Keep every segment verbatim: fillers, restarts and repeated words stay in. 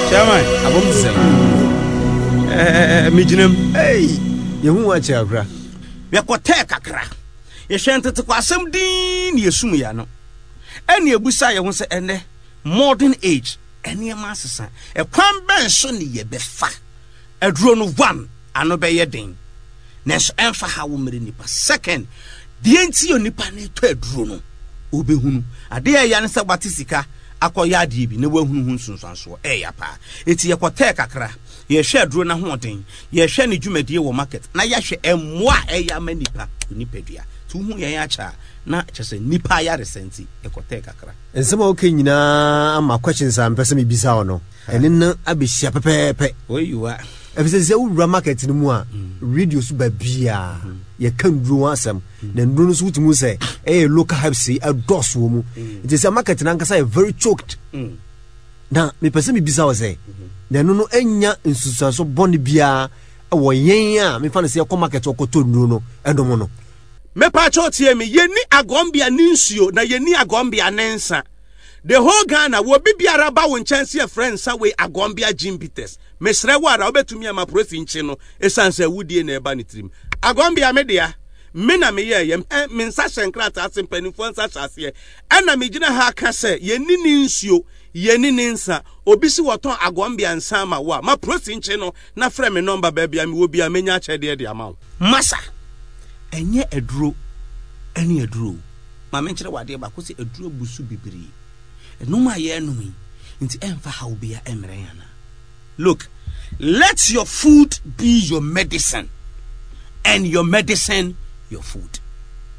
Chairman. Abom te sɛn? Ɛɛ, megyina mu. Ei, yɛhu wo akyɛ akora. Yɛkɔtɛɛ kakra. Yɛhwɛ ntetekɔ asɛm din ne yɛsum yɛ ano. Ɛne ebusa yɛn ho sɛ, ɛnɛ modern age, nneɛma asesa. Ɛkwan bɛn so ne yɛbɛfa aduro no? One, ano bɛyɛ den nanso ɛmfa ha wo mmere nipa. Second, deɛ nti yɛ nipa no tɔ aduro no, obɛhunu adeɛ a ɛya ne sɛ wate sika akɔyɛ adeɛ bi na wahunu ho nsunsuansoɔ. Ɛyɛ paa. Eti yɛkɔtɛɛ kakra, yɛhwɛ aduro no ahoɔden, yɛhwɛ ne dwumadie wɔ market, na yɛahwɛ mmoa a ɛyɛ ama nipa onipadua. Nti wohu yɛn akyɛ a, na kyerɛ sɛ nipa ayaresa nti yɛkɔtɛɛ kakra. Nsɛm a woka nyinaa ama questions a mpɛ sɛ mebisa wo no, ɛne no abɛhyia pɛpɛɛpɛ. Oyiwa. Ɛfisɛ sɛ wowura market no mu a, radio so baabiaa yɛka nduro ho asɛm, na nduro no nso wotumi sɛ ɛyɛ local herbs yi ɛdɔɔso wɔ mu, nti sɛ market no ankasa yɛ very choked. Na mepɛ sɛ mebisa wo sɛ, na ɛno no ɛnya nsusuanso bɔne biara ɛwɔ yɛn a mefa no sɛ yɛkɔ market ɔkɔtɔ nnuro no ɛnom no? Mepaakyɛw, tie me. Yɛni agɔmbea ne nsuo na yɛni agɔmbea ne nsa. The whole Ghana, wɔ bi biara ba wo nkyɛn sɛ yɛfrɛ nsa wei Agɔmbea Gin Bitters, mesrɛ wo ara, wobɛtumi ama prosi nkye no, ɛsiane sɛ wodie na ɛba ne tirim. Agɔmbea me dea, me na meyɛɛyɛ. Me nsa hyɛ nkrataa ase, mpanimfoɔ nsa hyɛ aseɛ, ɛna megyina ha ka sɛ yɛni ne nsuo, yɛni ne nsa. Obi si wɔtɔn Agɔmbea nsa ama wo a, ma prosi nkye no na frɛ me nɔmba. Baabi a mewɔ bi a, menya akyɛdeɛ de ama wo. Masa, ɛnyɛ aduro ɛne aduro. Ma menkyerɛ wɔ adeɛ baako sɛ aduro abu so bebree ɛnom a yɛrenom yi nti ɛmfa haw bia ɛmmerɛ yɛn ana. Look, let your food be your medicine and your medicine your food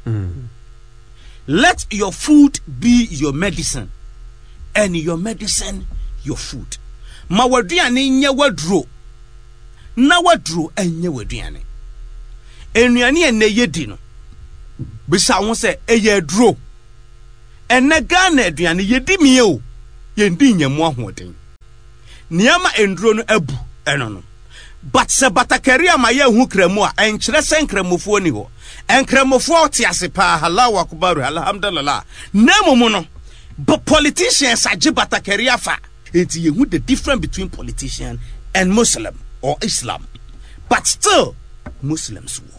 mm. Let your food be your medicine and your medicine your food. Ma w'aduane nyɛ w'aduro na w'aduro nyɛ w'aduane. Nnuane a ɛnɛ yɛdi no, bisa ho sɛ ɛyɛ aduro. Ɛnɛ Ghana aduane yɛdi mie o, yɛndi nyamu ahoɔden. Nneɛma nduro no abu ɛno no, but sɛ batakari ama yɛnhu kramu a, ɛnkyerɛ sɛ nkramofoɔ ni hɔ. Nkramofoɔ te ase paa. Allahu akbar, alhamdulillah. Na mmom no, but politicians agye batakari afa. Nti yɛhu the difference between politician and Muslim or Islam, but still Muslims wɔ hɔ.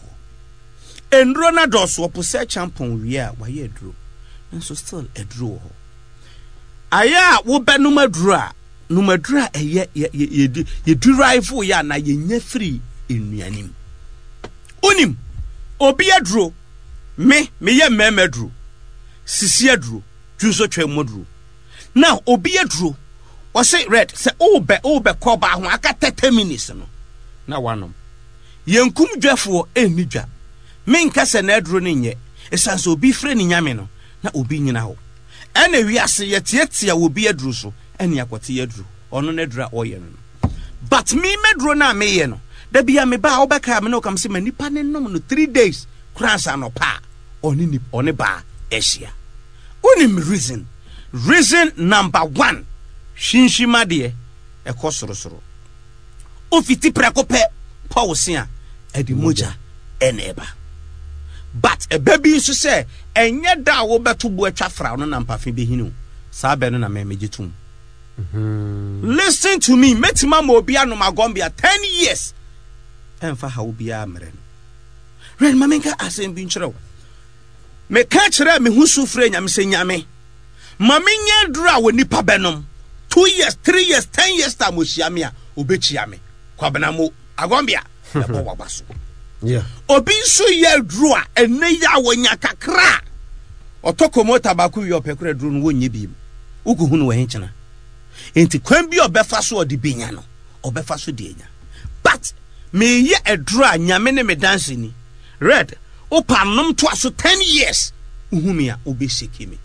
Nduro no adɔɔso. Ɔpo sɛ champɔn wie a, wayɛ aduro, nso still aduro wɔ hɔ. Ayɛ a wobɛnom aduro a, nom aduro a ɛyɛ yɛ yɛ derive yɛ anaa yɛnya firi nnuane mu. Wonim obi aduro, me meyɛ mmarima aduro, sisi aduro, dwonso twɛn mu aduro. Now obi aduro, ɔse red sɛ wobɛ wobɛkɔ ɔbaa ho aka thirty minutes no na wanom. Yɛnkum dwafoɔ ɛnni dwa. Menka sɛ n'aduro no nyɛ, ɛsiane sɛ obi frɛ ne Nyame no na obi nyina hɔ. Ɛna wiase yɛtiatia wɔ bi aduro so ɛne akɔte yɛ aduro. Ɔno n'aduro a ɔyɛ no no but me mɛduro no a meyɛ no da bia meba a, wobɛka me ne wokam sɛ ma nipa ne nom no three days koraa nsa anɔpa a ɔne nip ɔne baa ahyia. Wonim reason? Reason number one, hwinhwima deɛ ɛkɔ sorosoro. Wofiti prɛko pɛ pɔw se a, ɛde mogya ɛna ɛba. But ɛbɛ bi nso sɛ ɛnyɛ da a wobɛto bo atwa fra no na mpafe bɛhini o. Saa bɛ no na mɛmɛgye tom. Listen to me, mɛtumi ama obi anom Agɔmbea ten years, ɛmfa haw biara mmerɛ no. Rɛn ma menka asɛm bi nkyerɛ wo. Meka kyerɛ me ho su frɛ Nyame sɛ, Nyame, ma menyɛ aduro a wɔ nipa bɛnom two years, three years, ten years time, ohyia me a, obɛkyia me. Kwabena mo Agɔmbea ɛbɔ waba so. Yeah. Obi nso yɛ aduro a ɛnɛ yi a wɔnya kakra a, ɔtɔ kɔmɔta baako wie, ɔpɛ kora aduro no wɔnyɛ bi mu. Wokɔhu no wɔ henkyena? Nti kwan bi a ɔbɛfa so ɔde benya no, ɔbɛfa so de anya. But meyɛ aduro a Nyame ne me danse ni. Red, wopa nom toa so ten years, wohu me a, wobɛseki me,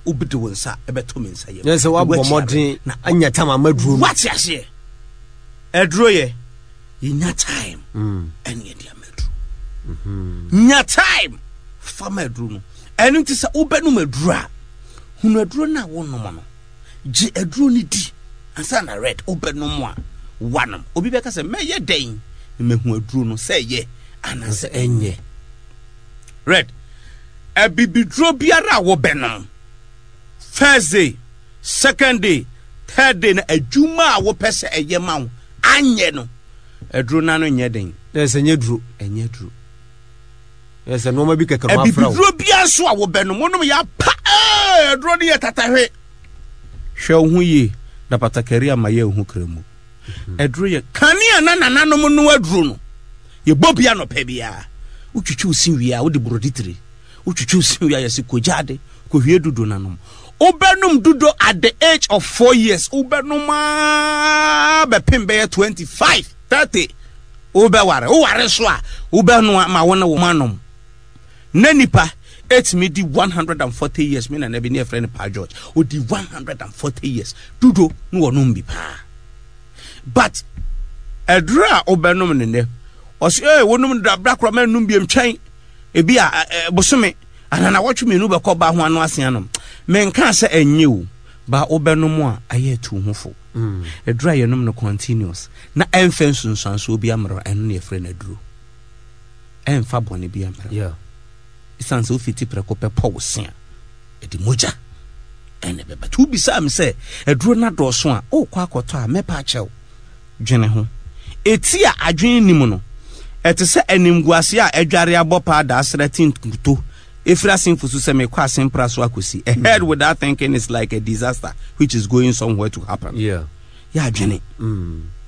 wobɛde wo nsa ɛbɛto me nsa yam. Yɛn sɛ woabɔ mmɔden anya tam ama duro no. Wate aseɛ? Aduro yɛ yɛnya time ɛne yɛde ama aduro. Nya time fa ma aduro no. Ɛno nti sɛ wobɛnom aduro a, hunu aduro no a wonom no, gye aduro no di ansa na red wobɛnom a wanom. Obi bɛka sɛ, mɛyɛ dɛn na mahu aduro no sɛ ɛyɛ anaasɛ ɛnyɛ? Red, abibiduro biara a wobɛnom, first day, second day, Third day na adwuma a wopɛ sɛ ɛyɛ ma wo anyɛ no, aduro no ano nyɛ den. Ɛsɛ nyɛ duro. Ɛnyɛ duro. Ɛsɛ nneɛma bi kɛkɛ no afra wo. Abibiduro biara nso a wobɛnom, wonom yɛ apa, ee, aduro no yɛ tatahwe. Hwɛ wo ho yie na batakari ama yɛ ho kra mu. Aduro yɛ kanea na nananom no aduro no. Yɛbɔ bi anɔpa biara. Wotwitwi wo se wie a, wode borɔde tire. Wotwitwi wo se wie a, yɛse kɔgya ade, kɔhwie dudo no anom. Wobɛnom dudo at the age of four years. Wobɛnom aa bɛpem bɛyɛ twenty five, thirty. Wobɛware. Woware so a, wobɛnoa ma wo ne wo anom. Na nipa ɛtumi di one hundred and forty years. Me nana bi ne yɛfrɛ no Pa George. Odi one hundred and forty years. Dudo ne wɔnom bi paa. But aduro a wobɛnom ne nnɛ, ɔsɛ ee wonom no dabra koraa ma nnum biem twɛn ebi a ɛ bosome anana wɔtwe mmienu bɛkɔ ba ho ano ase anom. Menka sɛ ɛnyɛ o, ba wobɛnom a ayɛ atu ho fo. Aduro a yɛnom no continuous na ɛmfɛ nsunsuansoɔ bi ammerɛ, ɛno na yɛfrɛ no aduro. Ɛmfa bɔne bi ammerɛ. Yeah. Ɛsiane sɛ wofiti prɛko pɛ pɔ wo se a, ɛde mogya ɛna ɛbɛba. Nti wobisaa me sɛ aduro no adɔɔso a, wokɔ akɔtɔ a, mɛpa akyɛw. Dwene ho. Eti a adwene nni mu no, ɛte sɛ animguase a adware abɔ paa da asra ti nkuto efiri asenfo so sɛ mekɔ asempra so akɔsi. A head without thinking is like a disaster which is going somewhere to happen. Yeah. Yɛ adwene.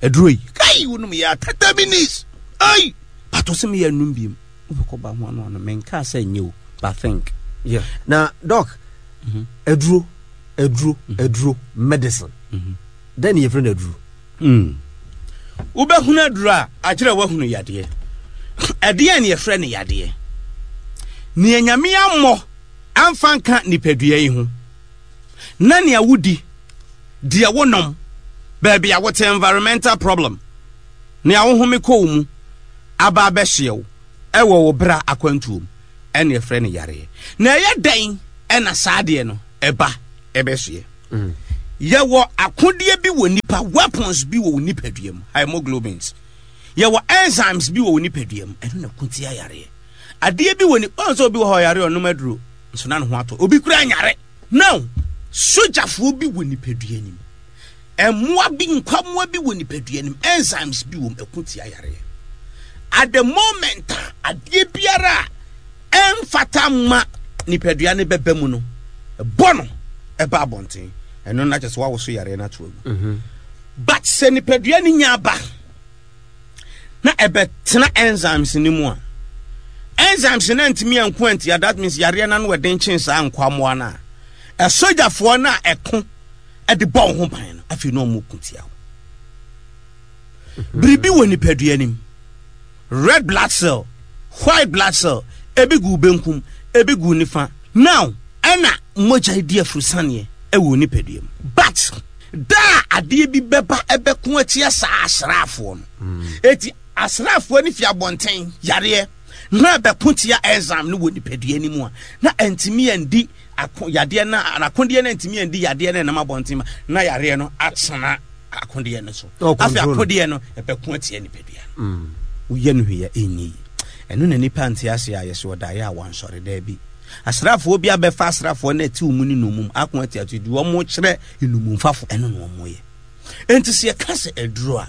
Aduro yi, kai wonom yɛ a thirty minutes. Ai! Pato sɛ meyɛ anum biem. Wobɛkɔ ba ho ano ano. Menkaa sɛ nyɛ o, but think. Yeah. Na doc, aduro, aduro, aduro, medicine. Dɛn ne yɛfrɛ no aduro? Mm. Wobɛhunu aduro a, akyerɛ woahunu yadeɛ. Ɛdeɛn ne yɛfrɛ no yadeɛ? Nea Nyame ammɔ amfa nka nipadua yi ho, na nea wodi, deɛ wonom, baabi a wote, environmental problem, nea wohome kɔ wo mu aba abɛhyeɛ wo ɛwɔ wo bra akwantuo mu, ɛne yɛfrɛ no yareɛ. Na ɛyɛ dɛn ɛna saa adeɛ no ɛba ɛbɛhyeɛ? Yɛwɔ akodeɛ bi wɔ nipa, weapons bi wɔ wo nipadua mu, hemoglobins. Yɛwɔ enzymes bi wɔ wo nipadua mu, ɛno na ko tia yareɛ. Adeɛ bi wɔ ni, ɔn sɛ obi wɔ hɔ ɔyare ɔnom aduro, nso na ne ho atɔ. Obi kura nyare. Now, sogyafoɔ bi wɔ nipadua nim. Mmoa bi, nkwammoa bi wɔ nipadua nim, enzymes bi wɔ mu, ɛko tia yareɛ. At the moment a adeɛ biara a ɛmfata mma nipadua no bɛba mu no, ɛbɔ no ɛba abɔnten. Ɛno na kyerɛ sɛ wawoso yareɛ no ato agu. But sɛ nipadua no nya aba na ɛbɛtena enzymes no mu a, enzymes no antumi anko antia, that means yareɛ no ano ɛden kyen saa nkwammoa no a, ɛsogyafoɔ no a ɛko ɛde bɔ wo ho ban no, afei na ɔmo ko tia wo. Biribi wɔ nipadua no mu, red blood cell, white blood cell, ebi gu benkum, ebi gu nifa. Now, ɛna mogya di afurusaneɛ ɛwɔ nipadua mu. But da a adeɛ bi bɛba ɛbɛko atia saa asraafoɔ no, eti asraafoɔ no fi abɔnten yareɛ na ɛbɛko tia enzyme no wɔ nipadua no mu a, na ɛntumi andi ako yadeɛ na akodeɛ no ntumi andi yadeɛ no ɛnam abɔnten ma na yareɛ no atena akodeɛ no so. Afei akodeɛ no ɛbɛko atia nipadua no. Woyɛ no hwee a ɛnyɛ yie. Ɛno na nipa nte ase a yɛsɛ ɔdaeɛ a wansɔre. Daabi. Asraafoɔ bi abɛfa asraafoɔ no ɛte wɔn ne nnommum ako atia to deɛ wɔn kyerɛ nnommumfafo, ɛno na wɔn yɛ. Enti sɛ yɛka sɛ aduro a,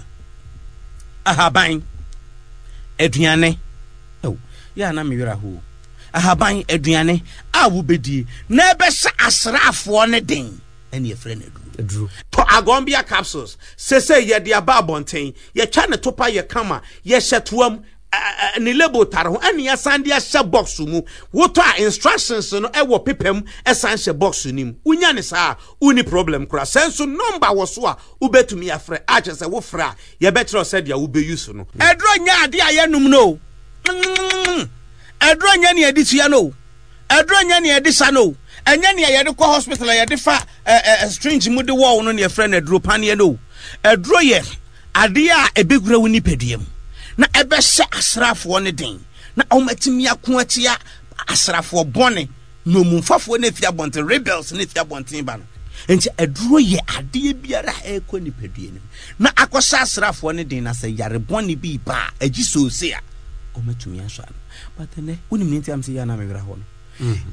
ahaban, aduane, ɛw, yɛ a na me werɛ aho. Ahaban, aduane a wobɛdie na ɛbɛhyɛ asraafoɔ no den, ɛne yɛfrɛ no aduro. Tɔ Agombia capsules. Sesei yɛde aba abɔnten. Yɛtwa ne topa yɛ kama. Yɛhyɛ toa mu. Ne label tare ho. Ɛne yɛasan de ahyɛ box mu. Wotɔ a instructions no ɛwɔ paper mu ɛsan hyɛ box no mu. Wonya ne saa a, wonni problem koraa. Sɛ nso number wɔ so a wobɛtumi afrɛ a, kyerɛ sɛ wofrɛ a yɛbɛkyerɛ wo sɛdeɛ wobɛyi so no. Aduro nyɛ adeɛ a yɛnom no o. Aduro nyɛ nea yɛde tua no o. Aduro nyɛ nea yɛde sa no o. Ɛnyɛ nea yɛde kɔ hospital a yɛde fa ɛ ɛ string mu de wɔw no nea yɛfrɛ no aduro paneɛ no o. Aduro yɛ adeɛ a ɛbɛwura wo nipadua mu na ɛbɛhyɛ asraafoɔ no den na wɔatumi ako atia asraafoɔ bɔne, nnommumfafoɔ no afi abɔnten, rebels no afi abɔnten ba no. Nti aduro yɛ adeɛ biara a ɛrekɔ nipadua no mu na akɔhyɛ asraafoɔ no den, na sɛ yare bɔne bi ba a agye soose a wɔatumi asɔ ano. But ɛnɛ wonim ne nti am sɛ yɛ ana mewerɛ hɔ no.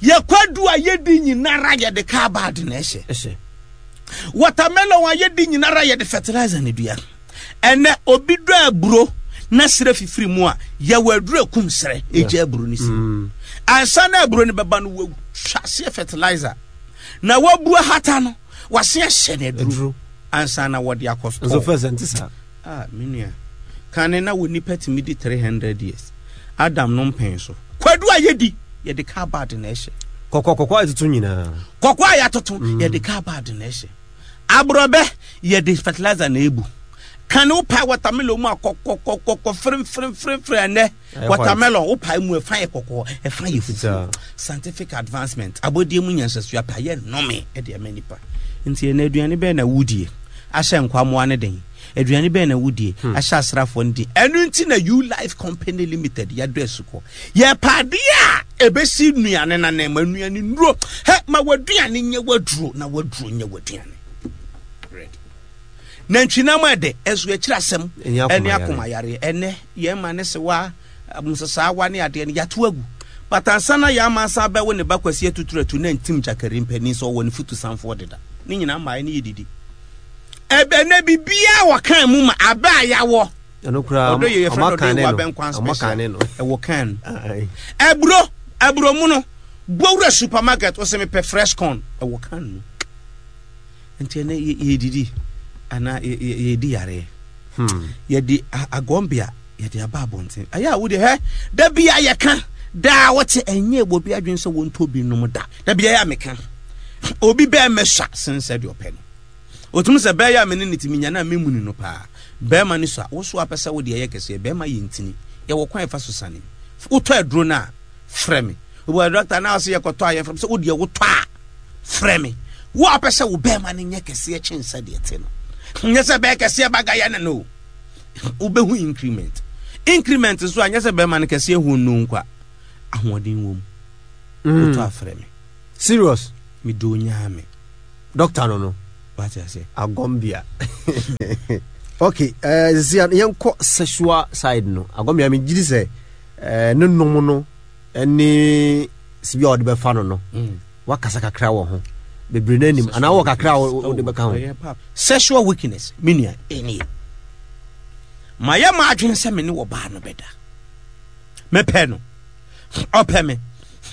Yɛkwadu a yɛdi nyinara yɛde kaa baade na ɛhyɛ. Watermelon a yɛdi nyinara yɛde fertilizer ne dua. Ɛnɛ obi dɔ aburo na serɛ fifiri mu a, yɛwɔ aduro ekum serɛ egya aburo no si. Mm. Ansa na aburo no bɛba no, wɔatwa aseɛ fertilizer na wɔabua hata no, wɔase ahyɛ no aduro aduro ansa na wɔde akɔ nso store. First ɛnte saa. Ah, me nua, kane na wɔ nipa tumi di three hundred years. Adam no mpɛn so kwadu a yɛdi, yɛde carbide na ɛhyɛ. Kɔkɔ kɔkɔ a ɛtoto nyinaa. Kɔkɔɔ a yɛatoto, yɛde carbide na ɛhyɛ. Aborɔbɛ, yɛde fertilizer na ebu. Kane wopae watermelon mu a, kɔkɔkɔkɔ firemfiremfiremfire. Ɛnɛ ɛyɛ watermelon wopae mu, ɛfa yɛ kɔkɔɔ, ɛfa yɛ fufuo. Fitaa. Scientific advancement, abɔdeɛ mu nyansasua pa yɛ nnome ɛde ɛma nipa. Nti ɛnɛ aduane bɛn na wodie ahyɛ nkwamoa ne den? Aduane bɛn na wodie ahyɛ asraafoɔ no den? Ɛno nti na U Life Company Limited yɛdɔ asukɔ, yɛpɛ adeɛ a ɛbɛsi nnuane nanan ma nnuane nnuro hɛ ma waduane nyɛ waduro na waduro nyɛ waduane. Bread nantwinam ɛdɛ ɛso akyiri asɛm. Ɛnyɛ ɛne akoma. Akoma yareɛ ɛnɛ yɛn ma ne sewa nsesaawa ne adeɛ no yɛato agu, but ansa na yɛn ama asan bɛwo ne ba Kwasi atuturatu na ntim gyakari mpanin sɛ ɔwɔ ne futu sanfoɔ deda ne nyinaa mmaa ne yɛdidi ɛbɛ nɛ biribiara wɔ kan mu ma abɛ a yɛawɔ. Ɛno koraa ɔdɔ yɛ yɛfrɛ no ɔma ɔdɔ kan yɛ ne wɔ no abɛnkwan ɔma special kan ne no. Ɛwɔ kan. Aye. Ɛburo ɛburo mu no, bowura supermarket, wɔsɛ mepɛ fresh corn, ɛwɔ kan mu. Nti ɛnɛ yɛ- yɛdidi anaa yɛ- yɛ- yɛdi yareɛ. Hmm. Yɛde a- agɔmbea yɛde aba abɔnten. Ɛyɛ a wode hɛ da bi a yɛka daa wɔte ɛnyɛ wɔ bi adwene sɛ wɔntɔ bi nom da da bi. Ɛyɛ a meka obi bɛɛ mɛsua sen sɛ deɛ ɔpɛ no ɔtumi sɛ bɛyɛ a mene ne tumi nya na memuni no paa. Bɛrima no so a wo so apɛ sɛ wode ɛyɛ kɛseɛ, bɛrima yɛ ntini, yɛwɔ kwan ɛfa so sane. Wotɔ aduro no a, frɛ me. Obi doctor na ɔsɛ yɛkɔtɔ a, yɛfrɛ sɛ wodeɛ wotɔ a, frɛ me. Wo a wopɛ sɛ wo bɛrima no nyɛ kɛseɛ kyen sɛ deɛ te no, nyɛ sɛ bɛyɛ kɛseɛ bagayɛ no no wobɛhu increment. Increment nso a, nyɛ sɛ bɛrima no kɛseɛ hu no nkwa ahoɔden wɔ mu. Mm. Wotɔ afrɛ me. Serious. Medɔ onyaa me. Doctor no no Wate ase? Agɔmbea. Okay, uh, sisi yɛnkɔ sexual side no. Agɔmbea, megye di sɛ uh, ne nom no ne sibi a wɔde bɛfa no no Mm. wakasa kakra wɔ ho bebree no anim anaa wɔ kakra a wode bɛka ho. Ɛyɛ pap. Sexual weakness, me nua, ɛnie mayɛ ma adwene sɛ me ne wɔbaa no bɛda, mepɛ no, ɔpɛ me,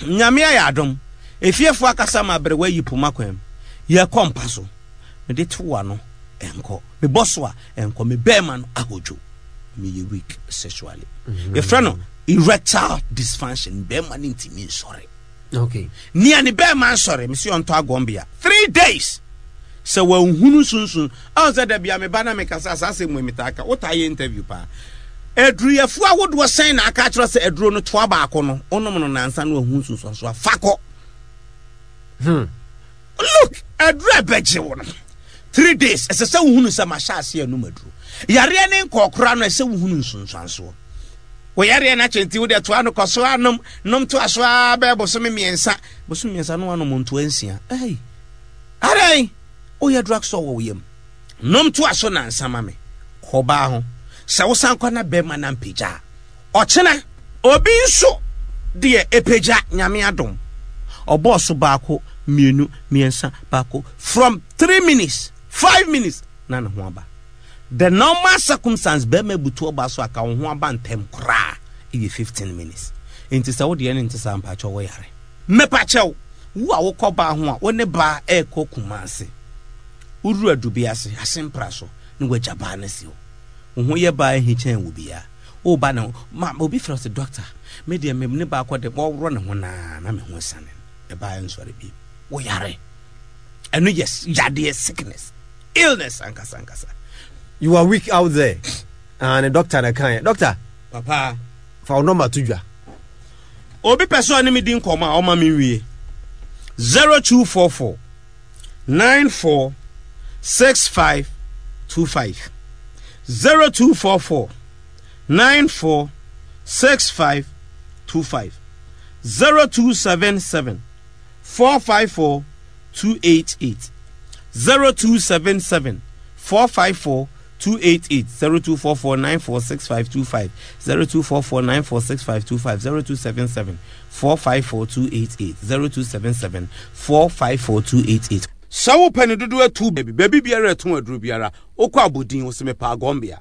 Nyame ayɛ adom, efiefoɔ akasa ma abrɛwa yi poma kwan mu, yɛkɔ mpa so, mede to ano ɛnkɔ, mebɔ so a ɛnkɔ, me bɛrima no ahodwo, meyɛ weak sexually. Yɛfrɛ no erectile dysfunction. Bɛrima no ntumi nsɔre. Okay nea ne bɛrima nsɔre, mesi ɔntɔ agɔmbea three days. Sɛ wanhunu sunsun ɔn sɛ dabi a meba na mekasa saa asɛm mu, metaa ka wotaa yɛ interview paa. Aduruyɛfoɔ ahodoɔ sɛn na aka akyerɛ sɛ aduro no toa baako no, wonom no nansa no ahu nsunsuanso a fa kɔ. hmm. Look, aduro a ɛbɛgye wo no three days, ɛsɛ sɛ wohunu sɛ mahyɛ ase anum aduro yareɛ ne nkɔɔkora no, ɛsɛ wohunu nsunsuansoɔ. Wo yareɛ no akyɛ nti wode toa no kɔ so anom nom toa so a bɛyɛ bosome mmiɛnsa, bosome mmiɛnsa no anom ntoa nsia. Ɛi adan woyɛ drug store wɔ wo yam, nom toa so nansa ma me kɔbaa ho sɛ wosan kɔ na bɛrima na mpagya a, ɔkyena obi nso deɛ ɛpagya. Nyame adom, ɔbɔɔ so baako, mmienu, mmiɛnsa, baako, from three minutes, five minutes na ne ho aba. The normal circumstance, bɛrima butu ɔba so aka wo ho aba ntɛm koraa ɛyɛ fifteen minutes. Nti sɛ wodeɛ no nte saa, mpakyɛw, wɔ yare. Mepakyɛw, wo a wokɔ baa ho a, wo ne baa ɛrekɔ Kumase, woduru Adubi ase asempra so ne wagya baa no si hɔ, wo ho yɛ baa ahi kyɛn wo biara woba ne ho ma obi frɛ sɛ doctor, me deɛ me ne baakɔ de wɔworɔ ne ho naa na me ho sane ɛbaa nsɔre bi. Wo yare ɛno yɛ yadeɛ, sickness, illness ankasa ankasa. You are weak out there. Ah, ne doctor na kan doctor. Papa. Fa wo number to dwa. Obi pɛ sɛ ɔne me di nkɔmmɔ a, ɔma me nwie zero two four four nine four six five two five, zero two four four nine four six five two five, zero two seven seven four five four two eight eight, zero two seven seven four five four two eight eight, zero two four four nine four six five two five, zero two four four nine four six five two five, zero two seven seven four five four two eight eight, zero two seven seven four five four two eight eight. Sɛ wopɛ ne dodoɔ atu baabi, baabi biara ɛtɔn aduro biara, wokɔ abodin, wo sɛ mepɛ Agɔmbea.